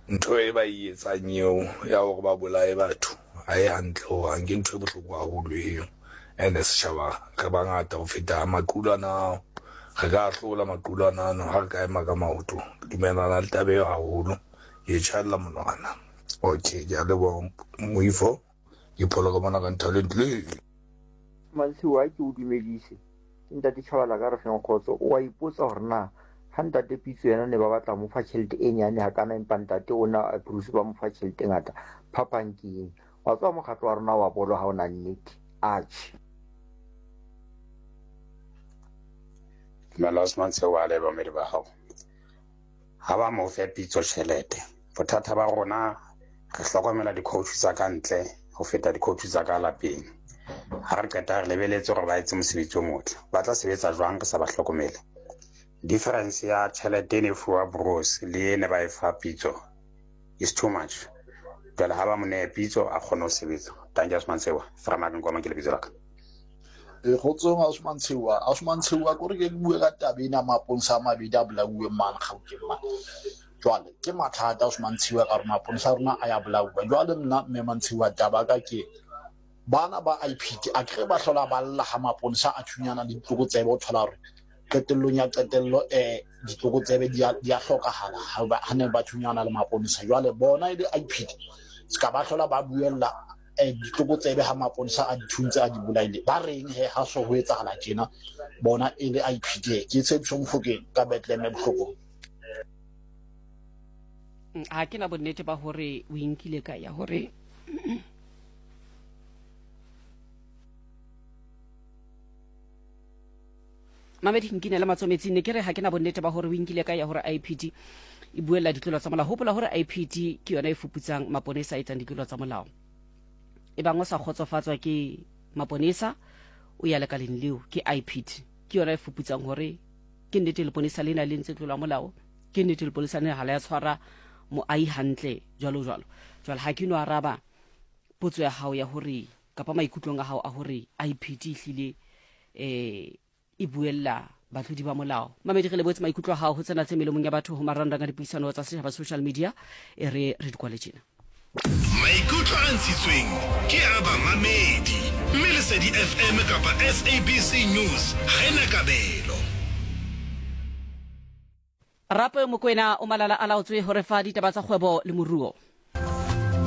Ntho e ba e etsang eo ya hore ba bolaye batho ha e hantle hohang, ke ntho e bohloko haholo eo. And setjhaba re bangata ho feta maqulwana ao, re ka hlola maqulwana ano ha re ka ema ka maoto. Ke dumellana le taba eo haholo, ke e tjhaella monwana. Okay, ke a leboha Moifo, ke pholo ka mona ka Nthaleng. Mantshiwa ke o dumedise. Ke ntate Chabalala ka re feng kgotso. O a ipotsa hore na ha ntate Pitso yena ne ba batla mo fa tjhelete e nyane hakana empa ntate ona Bruce ba mo fa tjhelete e ngata. Phapang ke eng? Wa tseba mokgatlo wa rona wa bolo ha o na nnete. Atjhe. Dumela Osman Tsheoa le bamamedi ba hao. Ha ba mo fe Pitso tjhelete. Bothata ba rona re hlokomela di-coach tsa ka ntle ho feta di-coach tsa ka lapeng. Ha re qeta re lebeletse hore ba etse mosebetsi o motle. Ba tla sebetsa jwang re sa ba hlokomele? Difference ya tjhelete e ne fuwa Broos le e ne ba e fa Pitso is too much. Jwale ha ba mo nehe Pitso a kgone ho sebetsa. Thank you Osman Sewa. Framak Nkoma ke lebitso la ka. E kgotsong Osman Tshewa. Osman Tshewa kore ke bue ka taba ena maponsa a mabedi a bolauweng mane Gauteng mane. Jwale ke mathata Osman Tshewa ka gore maponsa a rona a ya bolauwa. Jwale nna mme Mantshiwa taba ka ke bana ba IPT a kere ba hlola ba lla ha maponsa a thunyana le ditlokotsebe o thola hore qetellong ya qetello um ditlokotsebe di a hlokahala ha ne ba thunyana le maponesa. Jwale bona e le IPT se ka ba hlola ba buella um ditlokotsebe ha maponesa a di thuntse a di bolaile. Ba reng he ha so ho etsahala tjena bona e le IPT? Ke Tshepiso Mofokeng ka Bethlehem Bohlokong. Ha ke na bonnete ba hore o inkile ka ya hore mamedi nkine le matsometsing ne ke re ha ke na bonnete ba hore o inkile ka ya hore IPD e buella ditlolo tsa molao. Hopola hore IPD ke yona e fuputsang maponesa a etsang ditlolo tsa molao. E bang o sa kgotsofatswa ke maponesa o ya lekaleng leo, ke IPD ke yona e fuputsang hore ke nnete leponesa lena le ntse tlola molao, ke nnete leponesa lena ha le ya tshwara moahi hantle, jwalo jwalo. Jwale ha ke no araba potso ya hao ya hore kapa maikutlong a hao a hore IPD ehlile eh e buella batlodi ba molao. Mamedi re leboetse maikutlo a hao ho tsena tse melomong ya batho ho marangrang a dipuisano tsa setjhaba social media e re re di kwale tjena. Maikutlo a ntshitsweng ke a bamamedi, mme Lesedi FM kapa SABC News ha e na kabelo. Rape Mokoena o malala a laotswe ho re fa ditaba tsa kgwebo le moruo.